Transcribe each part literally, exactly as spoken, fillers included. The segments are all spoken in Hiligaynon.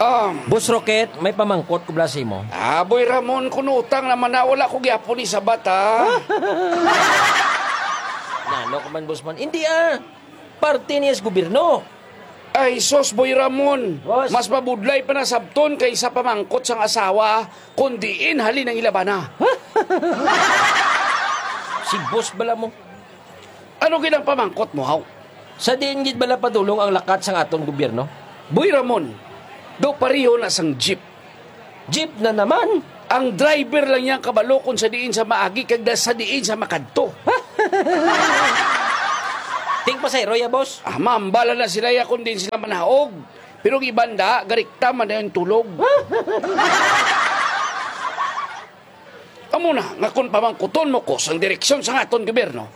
Um, Boss Rocket, may pamangkot ko bala sa imo. Ah, Boy Ramon, kung utang naman na, wala ko gyapon ni sabat, ha? Nano ka man, Boss Man? Hindi, ah. Parte niya sa gobyerno. Ay, sus, Boy Ramon. Boss. Mas mabudlay pa na sabton kaysa pamangkot sang asawa, kung diin halin ang ilabana. Si Boss bala mo. Ano gid ang pamangkot mo, haw? Sa diin gid bala padulong ang lakat sang aton gobyerno? Boy Ramon, daw pareho na sang jeep. Jeep na naman? Ang driver lang yang kabalo kung sa diin sa maagi kag da-, sa diin sa makadto. Ting pasahero ya, boss? Ah, mambala na sila ya kung diin sila manaog. Pero ang iban da, garikta man na yung tulog. Amo na nga kung pamangkuton mo ko sang direksyon sang aton gobyerno,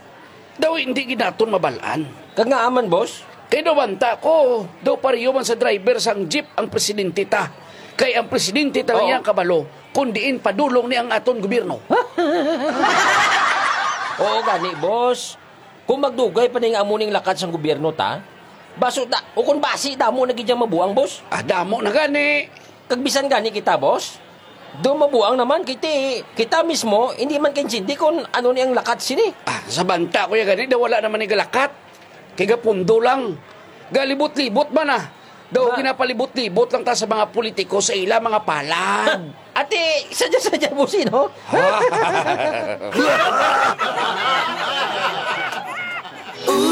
daw hindi gid naton mabalaan. Kag nga aman, boss? Kay daw banta ko, daw pareho man sa driver sang jeep ang presidente ta. Kay ang presidente ta Oo. Niyang kabalo, kung diin padulong ni ang aton gobyerno. Oo gani, boss. Kung magdugay pa ning amo ning lakat sang gobyerno ta, baso da, o kung basi damo na gid yang mabuang, boss. Ah, damo na gani. Kag bisan gani kita, boss, do mabuang naman kay ti, kita mismo hindi man kaintindi kung ano ni ang lakat sini. Ah, sa banta ko ya gani, daw wala naman ni galakat. Kay gapundo lang. Galibot-libot man, ah. Daw Ba- ginapalibot-libot lang ta sa mga politiko sa ila mga palad. Ate, sadya-sadya mo sino?